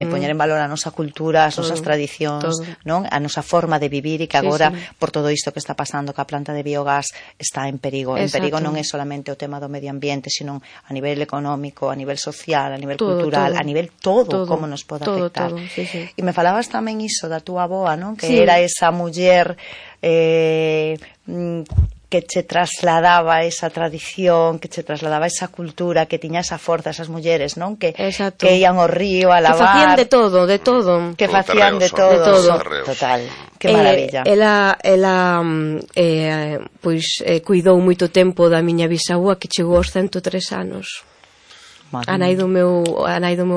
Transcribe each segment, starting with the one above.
poñer en valor a nosa cultura, as nosas tradicións, non? A nosa forma de vivir, e que agora, por todo isto que está pasando, que a planta de biogás está en perigo. En perigo non é solamente o tema do medio ambiente, sino a nivel económico, a nivel social, a nivel cultural, a nivel todo, como nos pode afectar. E me falabas tamén iso da túa avoa, non? Que era esa muller que che trasladaba esa tradición, que che trasladaba esa cultura, que tiña esa forza, esas mulleres, non? Que ian ao río a lavar. Que facían de todo, de todo. Que facían de todo. Total. Que maravilla. Ela pois cuidou moito tempo da miña bisavua, que chegou aos 103 anos. A nai do meu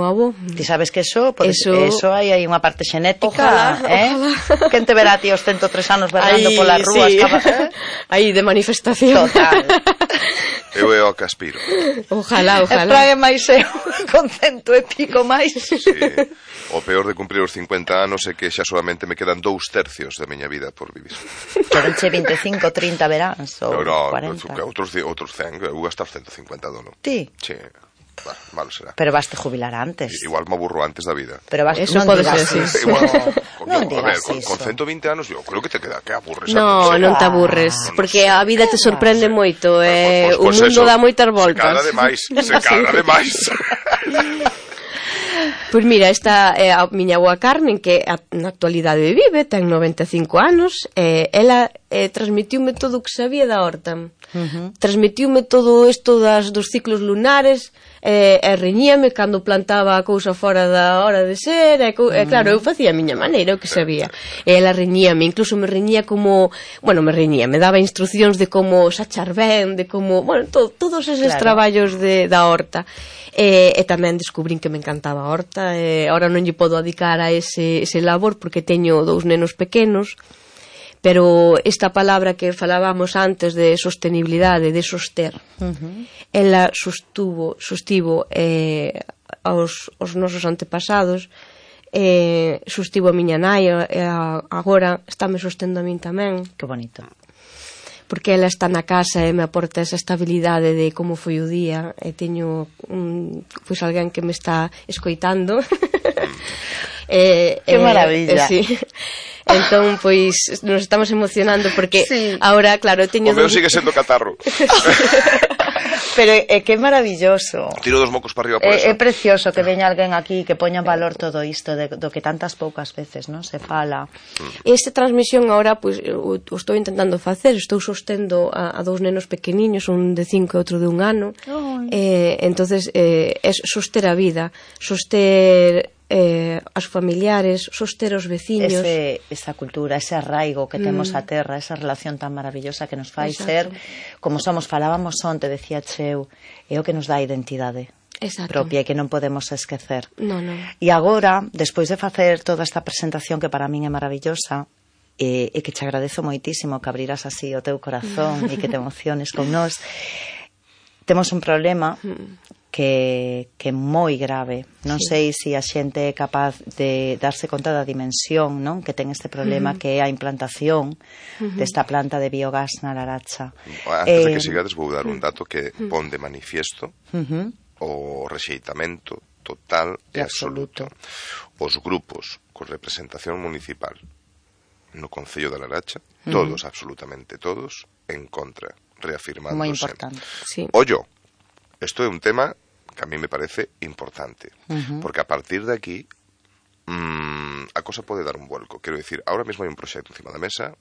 avó. Ti sabes que eso hai unha parte xenética, Quen te verá a ti aos 103 anos berrando polas rúas? Aí de manifestación. Total. Eu é o que aspiro. Ojalá. E prague máis eu, con 100 e pico máis. O peor de cumprir os 50 anos é que xa solamente me quedan 2/3 da miña vida por vivir. Quedanche 25, 30 veráns ou 40. Outros 100, eu gastar 150 dono. Ti? Sí. Malo será. Pero vas te jubilar antes. Igual me aburro antes da vida. Pero vas, eso pode ser así. Non digas iso. Con 120 anos eu creo que te queda que aburres. Non te aburres, porque a vida te sorprende moito, o mundo dá moitas voltas. Se caga demais. Pois mira, esta é a miña avoa Carmen, que na actualidade vive, ten 95 anos, ela transmitiume todo o que sabía da horta. Transmitiume todo isto dos ciclos lunares, e reñíame cando plantaba a cousa fora da hora de ser, e claro, eu facía a miña maneira, o que sabía. E ela reñíame, incluso me reñía me daba instruccións de como sachar ben, de como, todos eses traballos da horta. E tamén descubrín que me encantaba a horta, e ahora non lle podo dedicar a ese labor porque teño 2 nenos pequenos, pero esta palabra que falábamos antes de sostenibilidade, de soster, ela sostivo aos nosos antepasados, sostivo a miña nai, agora estáme sostendo a min tamén. Que bonito. Porque ela está na casa e me aporta esa estabilidade de como foi o día, e teño alguén que me está escoitando. Que maravilla. Entón, pois, nos estamos emocionando porque agora, claro, teño... O meu sigue sendo catarro. Pero é que é maravilloso. Tiro dos mocos para arriba por eso. É precioso que veña alguén aquí que poña en valor todo isto do que tantas poucas veces, non, se fala. Esta transmisión agora, pois, o estou intentando facer, estou sostendo a 2 nenos pequeniños, un de 5 e outro de 1 ano. Entonces, é soster a vida, soster as familiares, soster os veciños. Esa cultura, ese arraigo que temos a terra, esa relación tan maravillosa que nos fai ser como somos. Falábamos onte, decía Cheu, é o que nos dá identidade propia e que non podemos esquecer. E agora, despois de facer toda esta presentación que para min é maravillosa, e que te agradezo moitísimo que abriras así o teu corazón e que te emociones con nós, temos un problema que é moi grave. Non sei se a xente é capaz de darse conta da dimensión, non, que ten este problema, que é a implantación desta planta de biogás na Laracha. Antes de que sigades, vou dar un dato que pon de manifiesto o rexeitamento total e absoluto. Os grupos con representación municipal no Concello da Laracha, todos, absolutamente todos, en contra, reafirmándose. Moi importante. Ollo, isto é un tema que a mí me parece importante, porque a partir de aquí a cosa pode dar un vuelco. Quero dicir, ahora mesmo hai un proxecto encima da mesa,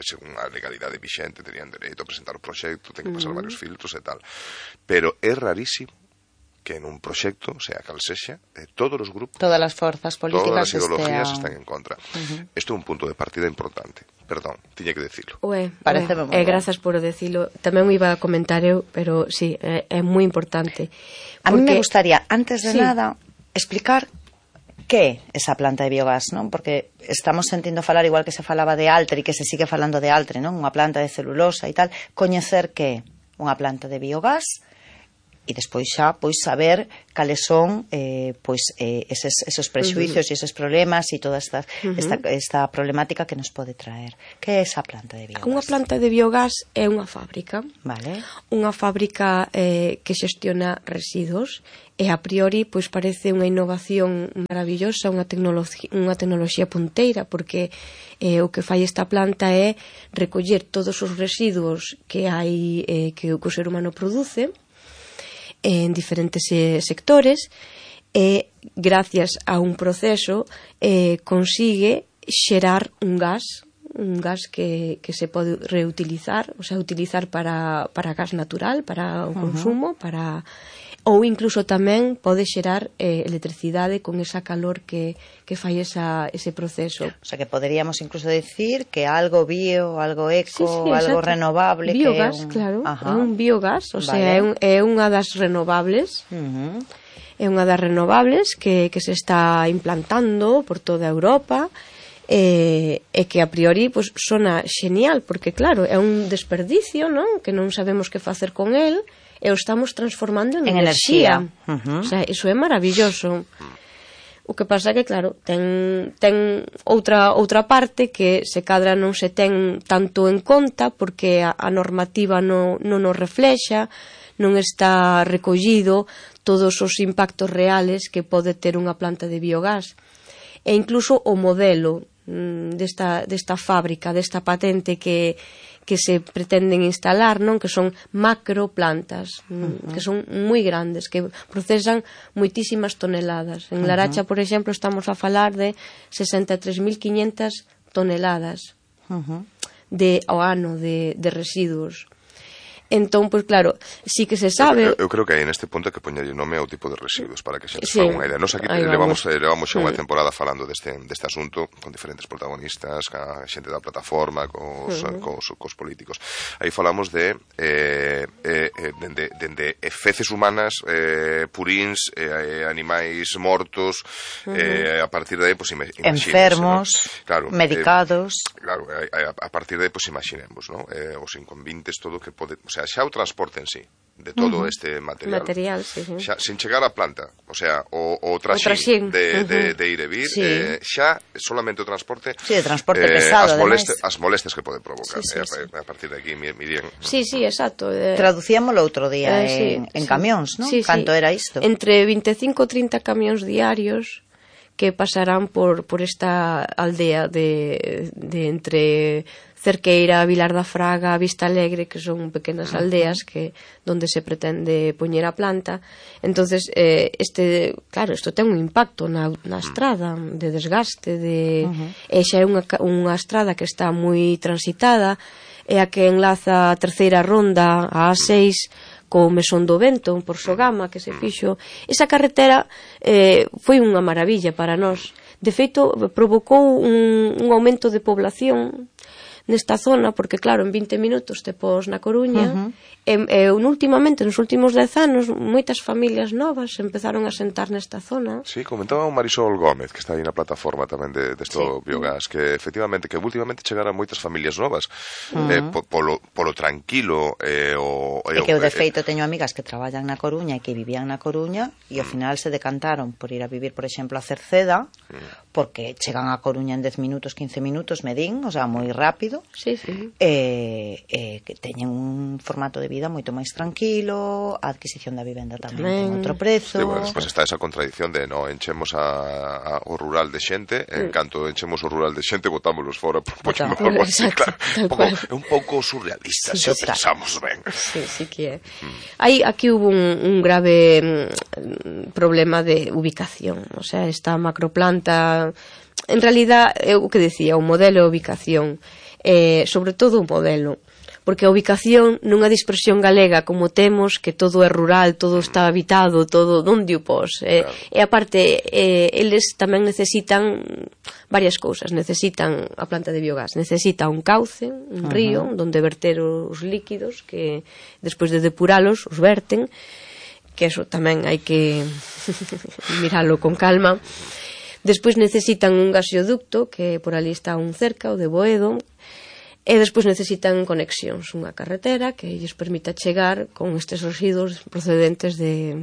según a legalidade vixente terían dereito a presentar o proxecto, ten que pasar varios filtros e tal, pero é rarísimo que en un proxecto, sea cal sexa, todos os grupos, todas as forzas políticas, todas as ideologías están en contra. Isto é un punto de partida importante. Perdón, tiña que decilo. Grazas por decilo. Tamén me iba a comentar eu, pero sí, é moi importante. A mí me gustaría, antes de nada, explicar que é esa planta de biogás, non? Porque estamos sentindo falar, igual que se falaba de Altre e que se sigue falando de Altre, non? Unha planta de celulosa e tal, coñecer que é unha planta de biogás, e despois xa pois saber cales son esos prexuicios e esos problemas e toda esta problemática que nos pode traer. Que é esa planta de biogás? Unha planta de biogás é unha fábrica. Vale. Unha fábrica que xestiona residuos e a priori pois parece unha innovación maravillosa, unha tecnoloxía punteira, porque o que fai esta planta é recoller todos os residuos que hai que o ser humano produce en diferentes sectores e gracias a un proceso consigue xerar un gas que se pode reutilizar, o sea, utilizar para gas natural, para o consumo, ou incluso tamén pode xerar electricidade con esa calor que fai ese proceso. O sea, que poderíamos incluso decir que algo bio, algo eco, algo renovable. Biogás, claro, é un biogás, o sea, é unha das renovables. É unha das renovables que se está implantando por toda Europa e que a priori pues, sona genial, porque claro, é un desperdicio, non? Que non sabemos que facer con el e o estamos transformando en enerxía. O sea, iso é maravilloso. O que pasa que, claro, ten outra parte que se cadra non se ten tanto en conta porque a normativa non nos reflexa, non está recollido todos os impactos reales que pode ter unha planta de biogás. E incluso o modelo desta fábrica, desta patente que se pretenden instalar, non? Que son macroplantas, que son moi grandes, que procesan moitísimas toneladas. En Laracha, por exemplo, estamos a falar de 63.500 toneladas ao ano de residuos. Entón, pois claro, sí que se sabe... Eu creo que aí neste punto que poñerlle nome ao tipo de residuos para que se nos faga unha idea. Nos aquí levamos xa unha temporada falando deste asunto con diferentes protagonistas, a xente da plataforma, cos políticos. Aí falamos de feces humanas, purins, animais mortos, a partir de aí, pois, enfermos, medicados... Claro, a partir de aí, pois, imaginemos, os inconvintes, todo o que pode... O sea, xa o transporte en sí de todo este material sí. Xa, sin chegar á planta, o sea, o traxín de ir e vir, xa solamente o transporte, o transporte pesado, as molestias que pode provocar. A partir de aquí, Miriam. Sí, exacto. Traducíamolo outro día en camións, non? Canto era isto? Entre 25 e 30 camións diarios que pasarán por esta aldea de entre Cerqueira, Vilar da Fraga, Vista Alegre, que son pequenas aldeas donde se pretende poñer a planta. Entonces, claro, isto ten un impacto na estrada de desgaste, e xa é unha estrada que está moi transitada, é a que enlaza a terceira ronda, a A6, co Mesón do Vento, por Sogama, que se fixo. Esa carretera foi unha maravilla para nós. De feito, provocou un aumento de población nesta zona, porque claro, en 20 minutos te pos na Coruña, e últimamente, nos últimos 10 anos, moitas familias novas empezaron a sentar nesta zona. Sí, comentaba un Marisol Gómez, que está aí na plataforma tamén desto biogás, que efectivamente, que últimamente chegaran moitas familias novas, polo tranquilo, e que eu de feito teño amigas que traballan na Coruña e que vivían na Coruña, e ao final se decantaron por ir a vivir, por exemplo, a Cerceda, porque chegan a Coruña en 10 minutos, 15 minutos, medín, o sea, moi rápido. Sí. Que teñen un formato de vida moito máis tranquilo, a adquisición da vivenda tamén ten outro prezo. Bueno, despois está esa contradición de enchemos o rural de xente, en canto enchemos o rural de xente, botámolos fora por poñemos algo así, claro. É un pouco surrealista, se o pensamos ben. Sí que é. Aquí hubo un grave problema de ubicación, o sea, esta macroplanta, en realidad, é o que decía, o modelo de ubicación, sobre todo o modelo, porque a ubicación nunha dispersión galega como temos, que todo é rural, todo está habitado, todo onde o pos, e aparte eles tamén necesitan varias cousas, necesitan a planta de biogás, necesita un cauce, un río onde verter os líquidos que despois de depuralos os verten, que eso tamén hai que miralo con calma. Despois necesitan un gasoducto, que por ali está un cerca, o de Boedo, e despois necesitan conexións, unha carretera que lles permita chegar con estes residuos procedentes de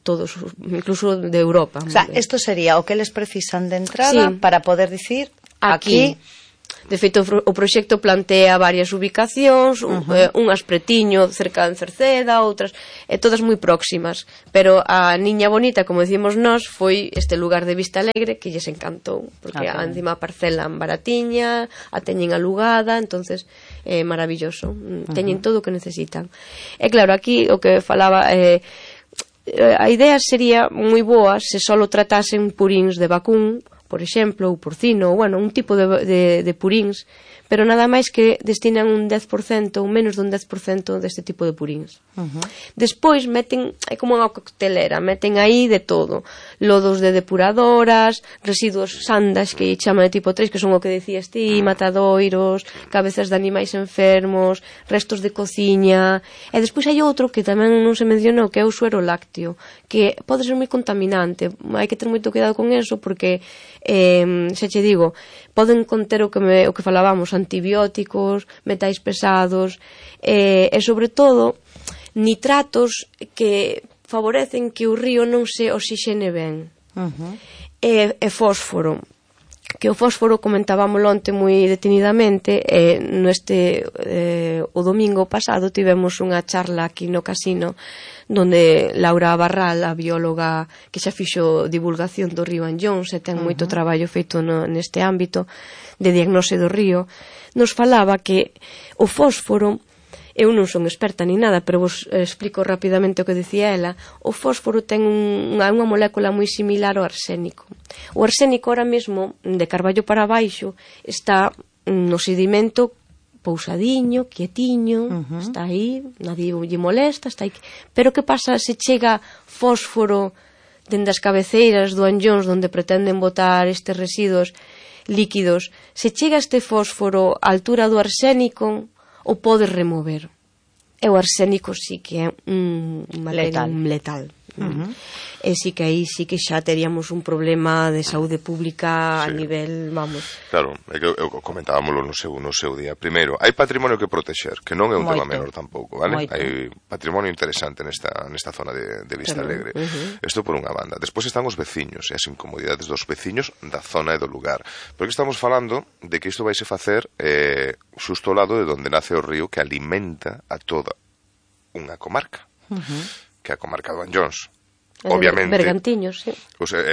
todos, incluso de Europa. O sea, isto sería o que eles precisan de entrada para poder dicir aquí. De feito, o proxecto plantea varias ubicacións, unhas pretiño cerca de Cerceda, outras, todas moi próximas, pero a Niña Bonita, como decimos nós, foi este lugar de Vista Alegre que lles encantou, porque encima a parcela baratiña, a teñen alugada, entonces é maravilloso, teñen todo o que necesitan. E claro, aquí o que falaba, a idea sería moi boa se só tratasen puríns de vacún, por exemplo, ou porcino, ou, bueno, un tipo de puríns, pero nada máis que destinan un 10% ou menos dun 10% deste tipo de puríns. Despois meten, é como unha coctelera, meten aí de todo, lodos de depuradoras, residuos sandas que chaman de tipo 3, que son o que decías ti, matadoiros, cabezas de animais enfermos, restos de cociña, e despois hai outro que tamén non se mencionou, que é o suero lácteo, que pode ser moi contaminante, hai que ter moito cuidado con eso, porque xa che digo, poden conter o que falábamos, antibióticos, metais pesados, e sobre todo nitratos que favorecen que o río non se oxixene ben, e fósforo, que o fósforo comentábamos onte moi detenidamente, o domingo pasado tivemos unha charla aquí no casino donde Laura Barral, a bióloga que xa fixo divulgación do río Anllóns e ten moito traballo feito neste ámbito de diagnose do río, nos falaba que o fósforo, eu non son experta ni nada, pero vos explico rapidamente o que decía ela, o fósforo ten unha molécula moi similar ao arsénico. O arsénico ahora mesmo, de Carballo para baixo, está no sedimento pousadiño, quietiño, está aí, nadie lle molesta, está aí. Pero que pasa se chega fósforo dende as cabeceiras do Anllóns onde pretenden botar estes residuos líquidos? Se chega este fósforo á altura do arsénico, o podes remover. E o arsénico sí que é un letal. E sí que aí sí que xa teríamos un problema de saúde pública a nivel, vamos. Claro, é que eu comentábamoslo no seu día. Primeiro, hai patrimonio que protexer, que non é un tema menor tampouco, vale? Hai patrimonio interesante nesta zona de Vista Alegre. Isto por unha banda. Despois están os veciños e as incomodidades dos veciños da zona e do lugar. Porque estamos falando de que isto vaise facer xusto ao lado de onde nace o río que alimenta a toda unha comarca. Que é a comarca do Anllóns. Obviamente, Bergantiños, sí.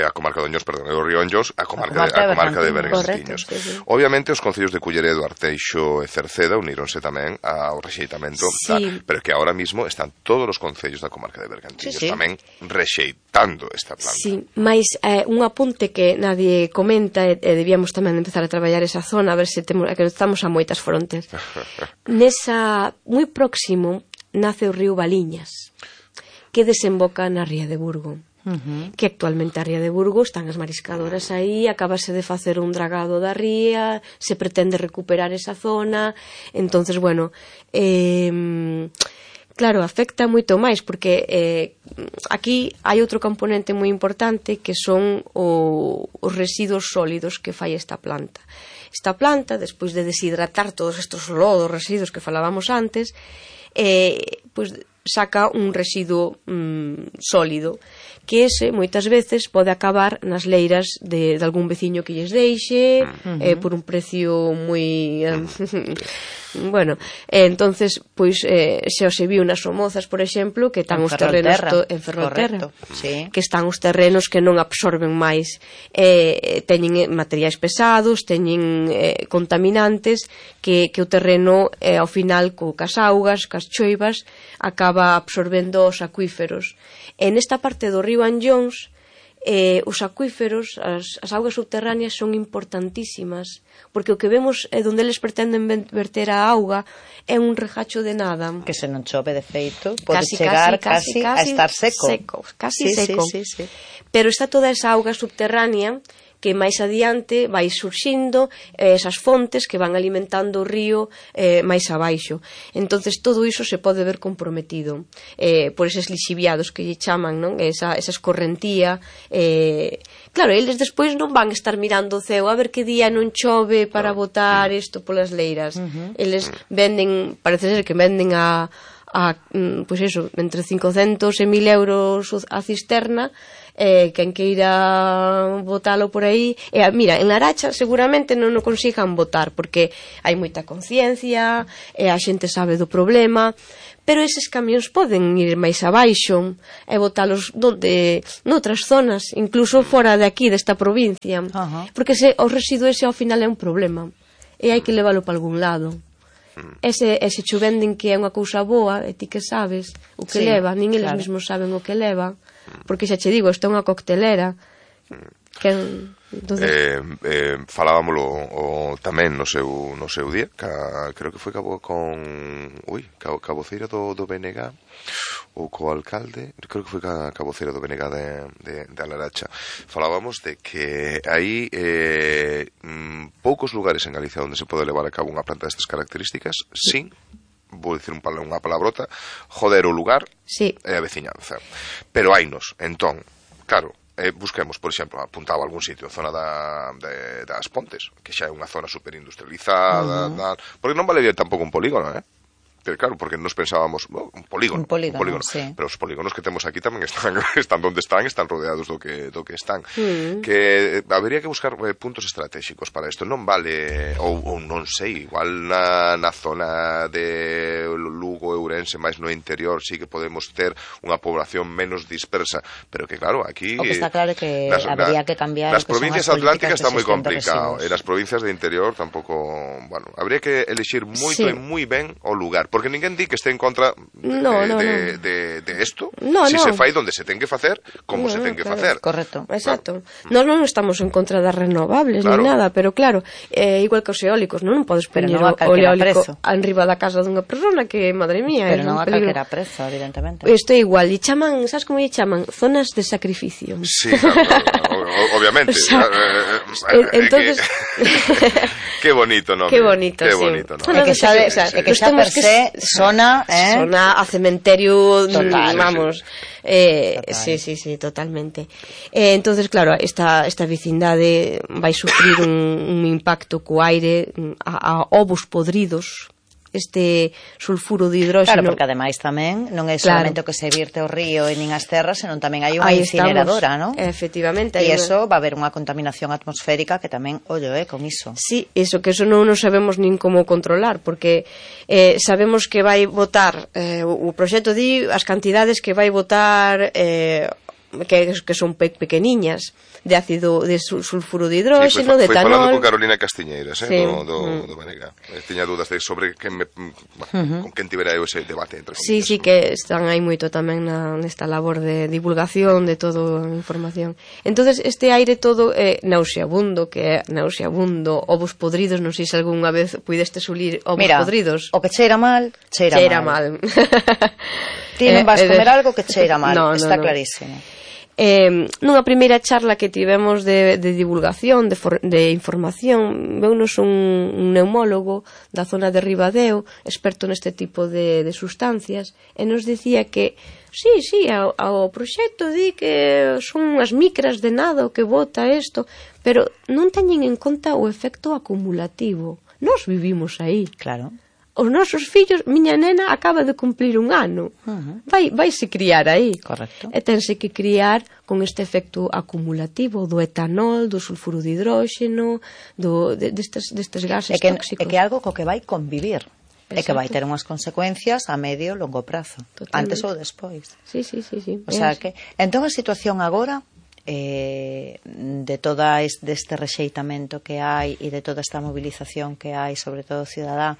A comarca do Anllóns, perdón, é o río Anllóns, a comarca de Bergantiños. Correcto, sí. Obviamente, os concellos de Culleredo, Arteixo e Cerceda uníronse tamén ao rexeitamento, pero que ahora mismo están todos os concellos da comarca de Bergantiños tamén rexeitando esta planta. Sí, mas un apunte que nadie comenta, e debíamos tamén empezar a traballar esa zona, a ver se estamos a moitas frontes. Nesa, moi próximo, nace o río Baliñas, que desemboca na Ría de Burgo, que actualmente a Ría de Burgo están as mariscadoras aí, acabase de facer un dragado da ría, se pretende recuperar esa zona, entonces, bueno, claro, afecta moito máis, porque aquí hai outro componente moi importante que son os residuos sólidos que fai esta planta. Esta planta, despois de deshidratar todos estes lodos, residuos que falábamos antes, pois saca un residuo sólido, que ese moitas veces pode acabar nas leiras de algún veciño que lles deixe, por un precio moi bueno, entonces pois xa se viu nas Somozas, por exemplo, que están os terrenos en Ferrolterra, que están os terrenos que non absorben máis, teñen materiais pesados, teñen contaminantes que o terreno ao final cas augas, cas choivas acaba absorbendo os acuíferos. E nesta parte do río Anllóns, os acuíferos, as augas subterráneas son importantísimas, porque o que vemos é onde eles pretenden verter a auga é un regacho de nada. Que se non chove de feito, pode chegar casi a estar seco. Casi seco. Pero está toda esa auga subterránea que máis adiante vai surxindo esas fontes que van alimentando o río máis abaixo. Entonces todo iso se pode ver comprometido por eses lixiviados que lle chaman, non? Esa escorrentía. Claro, eles despois non van estar mirando o ceo a ver que día non chove para botar isto polas leiras. Eles venden, parece ser que venden pois eso, entre 500 e 1000 euros a cisterna, quen queira botalo por aí. Mira, en Laracha seguramente non o consigan botar porque hai moita conciencia, a xente sabe do problema, pero eses camións poden ir máis abaixo e botalos noutras zonas, incluso fora de aquí, desta provincia, porque o residuo ese ao final é un problema e hai que leválo para algún lado. Ese che venden que é unha cousa boa e ti que sabes o que leva, nin eles mesmos saben o que leva, porque xa che digo, isto é unha coctelera que falábamolo tamén no seu día, creo que foi caboceira do BNG ou co alcalde, creo que foi caboceira do BNG de Laracha. Falábamos de que hai poucos lugares en Galicia onde se pode levar a cabo unha planta destas características sin, vou dicir unha palabrota, joder o lugar e a veciñanza. Pero hainos, entón, claro, busquemos, por exemplo, apuntaba algún sitio, a zona das Pontes, que xa é unha zona superindustrializada, porque non vale tampouco un polígono, claro, porque nos pensábamos un polígono, sí. Pero os polígonos que temos aquí tamén están onde están rodeados do que están, que habería que buscar puntos estratégicos para isto. Non vale, ou non sei, igual na zona de Lugo, Ourense, máis no interior sí que podemos ter unha población menos dispersa, pero que claro, aquí o que está claro que habería que cambiar nas provincias atlánticas está moi complicado, e nas provincias de interior tampouco, bueno, habría que elixir moito e moi ben o lugar, porque ninguén di que este en contra de isto, se fai donde se ten que facer, como se ten que facer. Correcto, exacto. Nós non estamos en contra das renovables ni nada, pero claro, igual que os eólicos, non podes poñer o eólico enriba da casa dunha persona que, madre mía, pero non a calquera prezo, evidentemente. Isto é igual, e chaman, sabes como lle chaman? Zonas de sacrificio. Sí, obviamente. Entonces qué bonito, ¿no? Qué bonito, sí. É que xa per se sona a cementerio, vamos. Sí, totalmente. Entonces, claro, esta vecindade vai sufrir un impacto co aire, a ovos podridos, este sulfuro de hidróxeno. Claro, porque ademais tamén non é solamente o que se vierte ao río e nin as terras, senón tamén hai unha incineradora, non? Efectivamente. E iso va a haber unha contaminación atmosférica que tamén, con iso. Sí, iso que non sabemos nin como controlar, porque sabemos que vai botar, o proxecto di as cantidades que vai botar que son pequeniñas, de ácido de sulfuro de hidróxeno, de etanol. Foi falando con Carolina Castiñeiras, do Banega. Tiña dúdas sobre con quen tivera ese debate entre Sí, que están aí moito tamén nesta labor de divulgación de toda a información. Entonces este aire todo é nauseabundo, ovos podridos, non sei se algunha vez puideste sulir ovos podridos. O que cheira mal, cheira mal. Ti non vas comer algo que cheira mal, está clarísimo. Nunha primeira charla que tivemos de divulgación, de información, veunos un neumólogo da zona de Ribadeo, experto neste tipo de sustancias, e nos dicía que sí, ao proxecto di que son unhas micras de nada o que bota isto, pero non teñen en conta o efecto acumulativo. Nós vivimos aí. Claro. Os nosos fillos, miña nena acaba de cumplir un ano, vaise criar aí. Correcto. E tense que criar con este efecto acumulativo do etanol, do sulfuro de hidróxeno, destes gases tóxicos. É que é algo co que vai convivir. Exacto. E que vai ter unhas consecuencias a medio e longo prazo. Totalmente. Antes ou despois. Sí. O sea que, entón a situación agora de todo este rexeitamento que hai e de toda esta movilización que hai, sobre todo cidadá,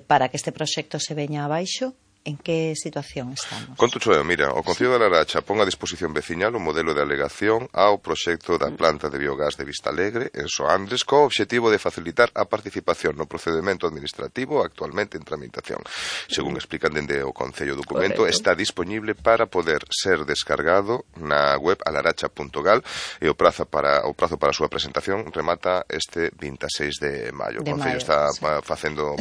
para que este proxecto se veña abaixo, en que situación estamos? Conto eu, mira, o Concello da Laracha pon a disposición veciñal o modelo de alegación ao proxecto da planta de biogás de Vistalegre en Soandres co obxectivo de facilitar a participación no procedemento administrativo actualmente en tramitación. Según explican dende o Concello, o documento está disponible para poder ser descargado na web alaracha.gal e o prazo para a súa presentación remata este 26 de maio. O Concello está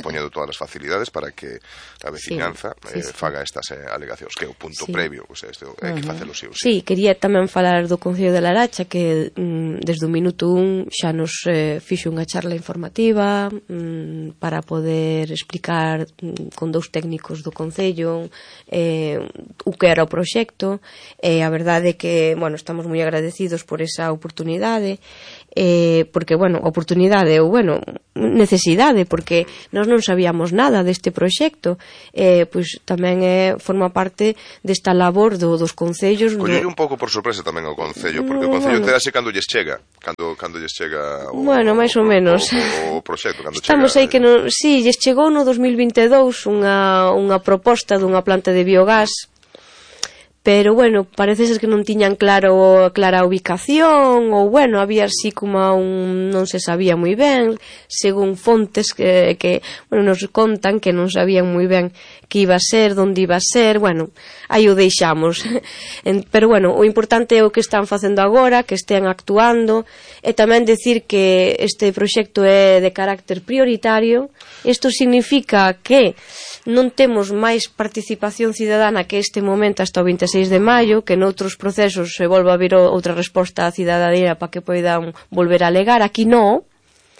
poñendo todas as facilidades para que a veciñanza faga estas alegacións, que é o punto previo, o sea, isto hai que facelo sí ou sí. Sí, quería tamén falar do Concello de Laracha, que desde o minuto 1 xa nos fixo unha charla informativa para poder explicar con dous técnicos do Concello o que era o proxecto, e a verdade é que, bueno, estamos moi agradecidos por esa oportunidade, porque, bueno, oportunidade ou, bueno, necesidade, porque nós non sabíamos nada deste proxecto, pois tamén forma parte desta labor dos concellos. Collelle un pouco por sorpresa tamén o Concello, porque o Concello terase cando lles chega, cando lles chega máis ou menos o proxecto, cando estamos chega. Aí que non, si, lles chegou no 2022 unha proposta dunha planta de biogás, pero, bueno, parece ser que non tiñan clara ubicación, ou, bueno, había así como non se sabía moi ben, según fontes que bueno, nos contan que non sabían moi ben que iba a ser, onde iba a ser, bueno, aí o deixamos. Pero, bueno, o importante é o que están facendo agora, que estén actuando, e tamén decir que este proxecto é de carácter prioritario. Isto significa que non temos máis participación cidadana que este momento hasta o 26 de maio, que noutros procesos se volva a vir outra resposta á cidadanía para que poidan volver a alegar. Aquí non,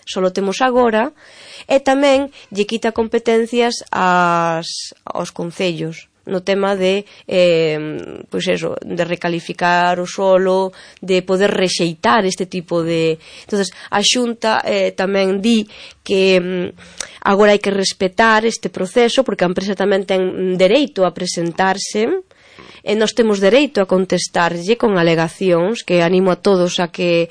só temos agora, e tamén lle quita competencias aos concellos no tema de pois eso, de recalificar o solo, de poder rexeitar este tipo de... Entonces, a Xunta tamén di que agora hai que respetar este proceso, porque a empresa tamén ten dereito a presentarse, e nós temos dereito a contestarlle con alegacións, que animo a todos a que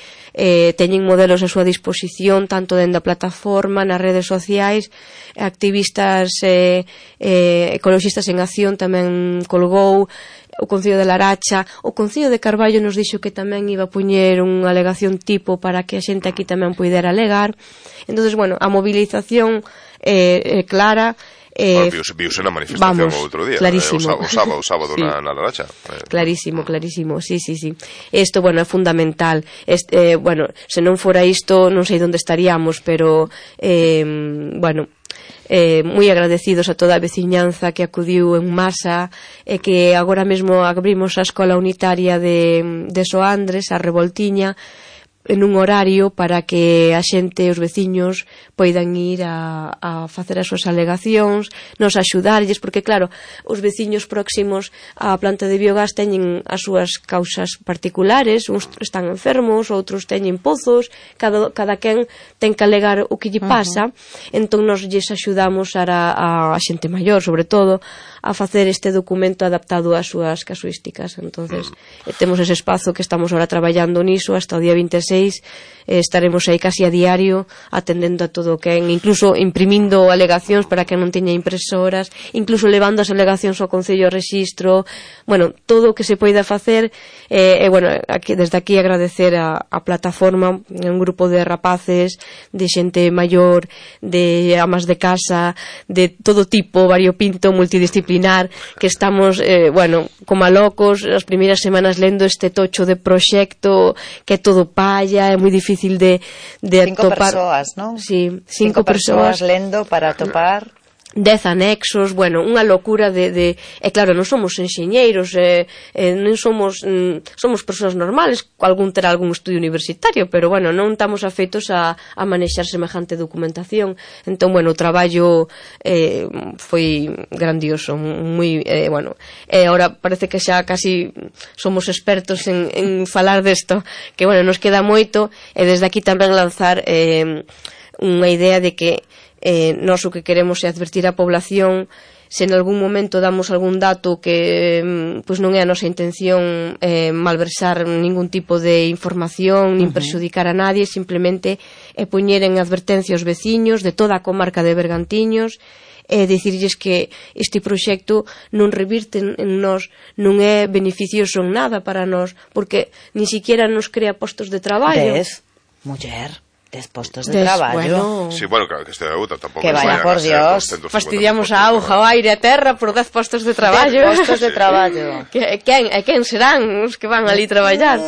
teñen modelos a súa disposición, tanto dentro da plataforma, nas redes sociais. Activistas ecologistas en acción tamén colgou, o Concello de Laracha, o Concello de Carballo nos dixo que tamén iba a poñer unha alegación tipo para que a xente aquí tamén poidera alegar. Entonces, bueno, a movilización é clara. Viuse na manifestación o outro día, clarísimo. O sábado sí. na Laracha. Clarísimo, sí. Isto, bueno, é fundamental. Bueno, se non fora isto, non sei onde estaríamos, pero, bueno, moi agradecidos a toda a veciñanza que acudiu en masa, e que agora mesmo abrimos a escola unitaria de Soandres, a Revoltiña, en un horario para que a xente, os veciños, poidan ir a facer as súas alegacións, nos axudarlles, porque, claro, os veciños próximos á planta de biogás teñen as súas causas particulares, uns están enfermos, outros teñen pozos, cada quen ten que alegar o que lle pasa, entón nos lles axudamos a xente maior, sobre todo, a facer este documento adaptado ás súas casuísticas. Entonces, temos ese espazo que estamos ahora traballando niso hasta o día 26, estaremos aí casi a diario atendendo a todo o que incluso imprimindo alegacións para que non teña impresoras, incluso levando as alegacións ao Concello de Rexistro, bueno, todo o que se poida facer. Bueno, desde aquí agradecer a plataforma, un grupo de rapaces, de xente maior, de amas de casa, de todo tipo, variopinto, multidisciplinar, que estamos, bueno, como a locos as primeiras semanas lendo este tocho de proxecto, que é todo palla, é moi difícil de atopar. 5 persoas, non? Sí, 5 persoas lendo para atopar 10 anexos, bueno, unha locura de claro, non somos enxeñeiros, non somos persoas normales, algún terá algún estudio universitario, pero, bueno, non estamos afeitos a manexar semejante documentación. Entón, bueno, o traballo foi grandioso, moi, bueno, ahora parece que xa casi somos expertos en falar desto, que, bueno, nos queda moito, e desde aquí tamén lanzar unha idea de que nós o que queremos é advertir a población se en algún momento damos algún dato que pois non é a nosa intención malversar ningún tipo de información nin perxudicar a nadie, simplemente poñer en advertencia aos veciños de toda a comarca de Bergantiños dicirlles que este proxecto non revirte en nós, non é beneficioso en nada para nós, porque ni siquiera nos crea postos de traballo. Ves, muller, des postos de traballo. Sí, bueno, claro, que este de outra tampouco. Que vaya, por Dios. Fastidiamos a auga, o aire, a terra por 10 postos de traballo. 10 postos de traballo. Quen serán os que van ali traballar?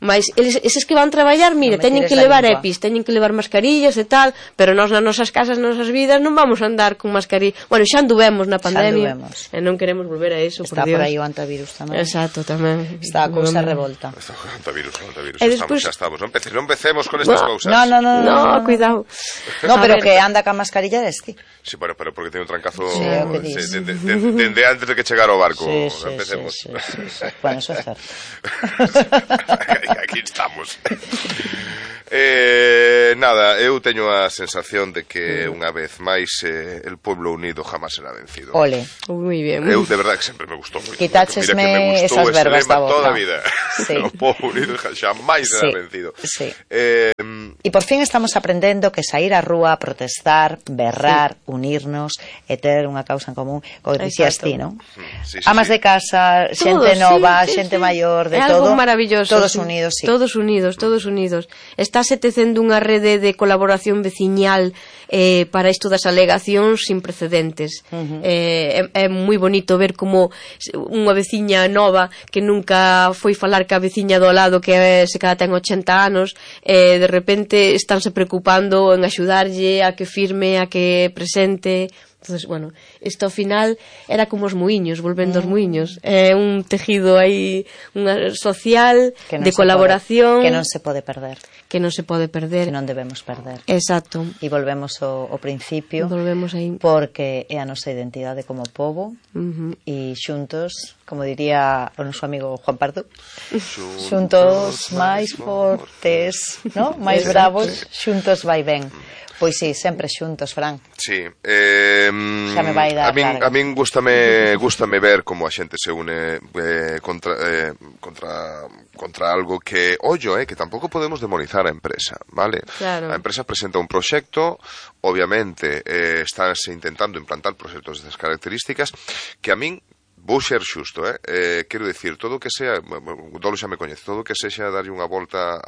Mas eses que van traballar, mira, teñen que levar EPIs, teñen que levar mascarillas e tal, pero nós nas nosas casas, nas nosas vidas, non vamos a andar con mascarilla. Bueno, xa anduvemos na pandemia. E non queremos volver a eso, por Dios. Está por aí o antivirus tamén. Exacto, tamén. Está a cousa revolta. Está o antivirus. Xa estamos. Non empecemos con estas cousas. No, cuidado. No, pero que anda ca mascarilla eres ti. Sí, pero porque tiene un trancazo sí, de antes de que chegara o barco. Sí, Empecemos. Sí. Bueno, eso é certo. Aquí estamos. Nada, eu teño a sensación de que unha vez máis el pueblo unido jamás será vencido. Ole. Muy bien. Eu de verdade que sempre me gustou moito. Quitáchesme esas verbas da boca. Toda a vida. Sí. O pueblo unido jamás será vencido. Sí. E por fin estamos aprendendo que sair á rúa, protestar, berrar, unirnos e ter unha causa en común, como dicías ti, non? Sí, amas de casa, xente nova, xente maior, de todo. É algo maravilloso. Todos unidos, sí. Todos unidos. Estáse tecendo unha rede de colaboración veciñal para isto das alegacións sin precedentes. É moi bonito ver como unha veciña nova que nunca foi falar ca veciña do lado que se cada ten 80 anos, de repente estánse preocupando en axudarlle a que firme, a que presente. Entonces, bueno, isto ao final era como os muiños, volvendo aos muiños. É un tejido aí social de colaboración que non se pode perder. Que non se pode perder. Que non debemos perder. Exacto. E volvemos ao principio. Volvemos aí. Porque é a nosa identidade como pobo e xuntos, como diría o noso amigo Juan Pardo, xuntos máis fortes, ¿no? Máis bravos, xuntos vai ben. Pois sí, sempre xuntos, Fran. Sí. Xa me vai dar a min gústame ver como a xente se une contra algo que, que tampouco podemos demonizar a empresa, vale? Claro. A empresa presenta un proxecto, obviamente estánse intentando implantar proxectos destas características que a min vou ser xusto, quero dicir, todo o que sea, Dolo xa me coñece, todo o que sexa darlle unha volta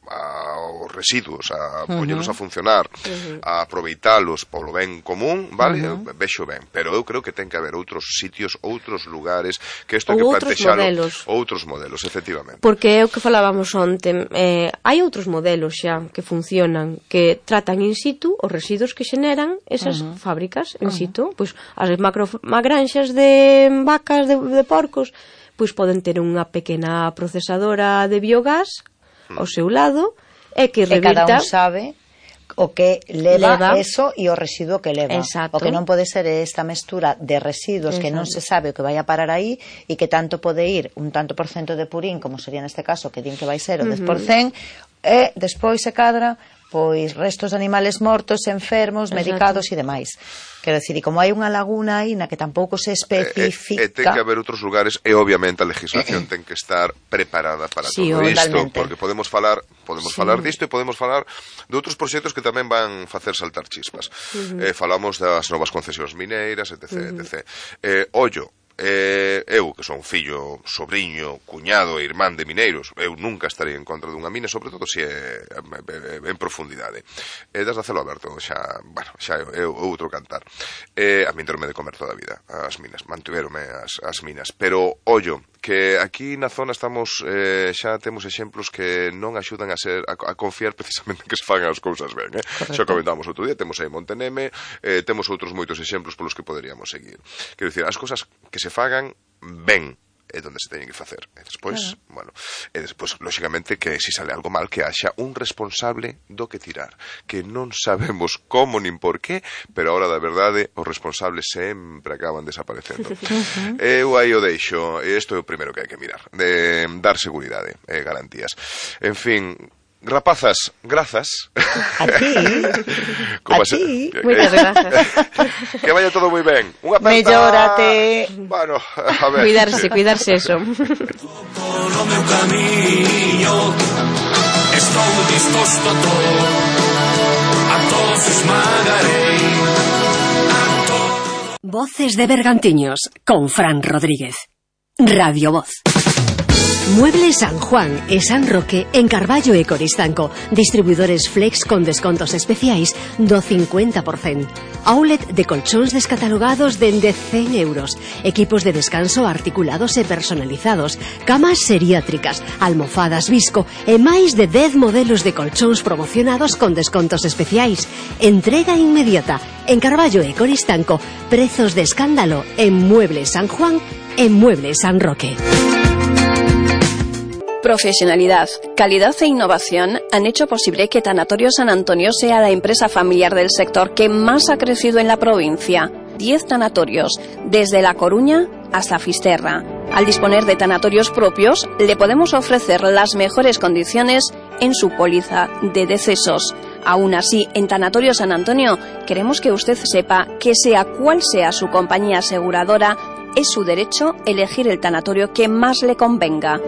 aos residuos, a poñelos a funcionar, a aproveitalos polo ben común, vale? Vexo ben, pero eu creo que ten que haber outros sitios, outros lugares, que isto que plantexalo, outros modelos, efectivamente. Porque é o que falábamos onte, hai outros modelos xa que funcionan, que tratan in situ os residuos que xeneran esas fábricas in situ, pois as granxas de vacas, de porcos, pois poden ter unha pequena procesadora de biogás ao seu lado e que revirta. E cada un sabe o que leva eso e o residuo que leva. Exacto. O que non pode ser esta mestura de residuos que non se sabe o que vai a parar aí e que tanto pode ir un tanto por cento de purín, como sería neste caso, que din que vai ser o 10%, e despois se cadra pois restos de animales mortos, enfermos, medicados e demais. Quero dicir, e como hai unha laguna aí na que tampouco se especifica... Ten que haber outros lugares e obviamente a legislación ten que estar preparada para todo isto, porque podemos falar disto e podemos falar de outros proxectos que tamén van facer saltar chispas. Falamos das novas concesións mineiras, etc. Ollo, eu que son fillo, sobrinho, cuñado e irmán de mineiros, eu nunca estaría en contra dunha mina, sobre todo se é en profundidade. Das de celo aberto xa é outro cantar. A min terme de comer toda a vida as minas, mantiveronme as minas, pero ollo, que aquí na zona estamos xa temos exemplos que non axudan a confiar precisamente en que se fagan as cousas ben, xa comentamos outro día, temos aí Monteneme, temos outros moitos exemplos polos que poderíamos seguir. Quero dicir, as cousas que se fagan ben é onde se teñen que facer. E despois, lóxicamente, que se sale algo mal, que haxa un responsable do que tirar, que non sabemos como nin por qué, pero a hora da verdade os responsables sempre acaban desaparecendo. Eu aí o deixo, e isto é o primeiro que hai que mirar, de dar seguridade e garantías. En fin, rapazas, grazas. A ti. Moitas grazas. Que vaya todo moi ben. Unha aperta. Mellórate. Bueno, a ver. Cuidarse eso. Polo meu camiño estou disposto a todo, a todos esmagarei. Voces de Bergantiños, con Fran Rodríguez. Radio Voz. Muebles San Juan e San Roque en Carballo e Coristanco. Distribuidores Flex con descontos especiais do 50%. Outlet de colchóns descatalogados dende 100 euros. Equipos de descanso articulados e personalizados. Camas seriátricas, almofadas Visco e máis de 10 modelos de colchóns promocionados con descontos especiais. Entrega inmediata. En Carballo e Coristanco, prezos de escándalo en Muebles San Juan e Muebles San Roque. Profesionalidad, calidad e innovación han hecho posible que Tanatorio San Antonio sea la empresa familiar del sector que más ha crecido en la provincia. 10 tanatorios, desde La Coruña hasta Fisterra. Al disponer de tanatorios propios, le podemos ofrecer las mejores condiciones en su póliza de decesos. Aún así, en Tanatorio San Antonio, queremos que usted sepa que sea cual sea su compañía aseguradora, es su derecho elegir el tanatorio que más le convenga.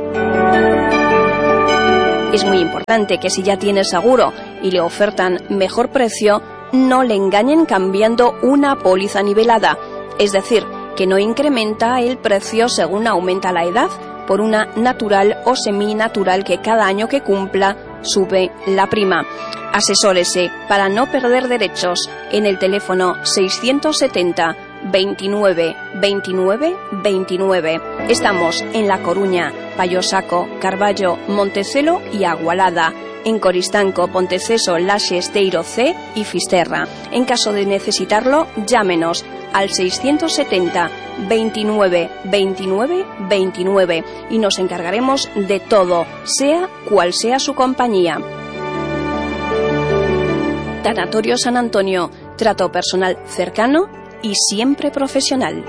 Es muy importante que si ya tiene seguro y le ofertan mejor precio, no le engañen cambiando una póliza nivelada, es decir, que no incrementa el precio según aumenta la edad, por una natural o seminatural que cada año que cumpla sube la prima. Asesórese para no perder derechos en el teléfono 670 29 29 29. Estamos en La Coruña, Payosaco, Carballo, Montecelo y Agualada. En Coristanco, Ponteceso, Laxe, Esteiro C y Fisterra. En caso de necesitarlo, llámenos al 670 29 29 29 y nos encargaremos de todo, sea cual sea su compañía. Tanatorio San Antonio, trato personal cercano y siempre profesional.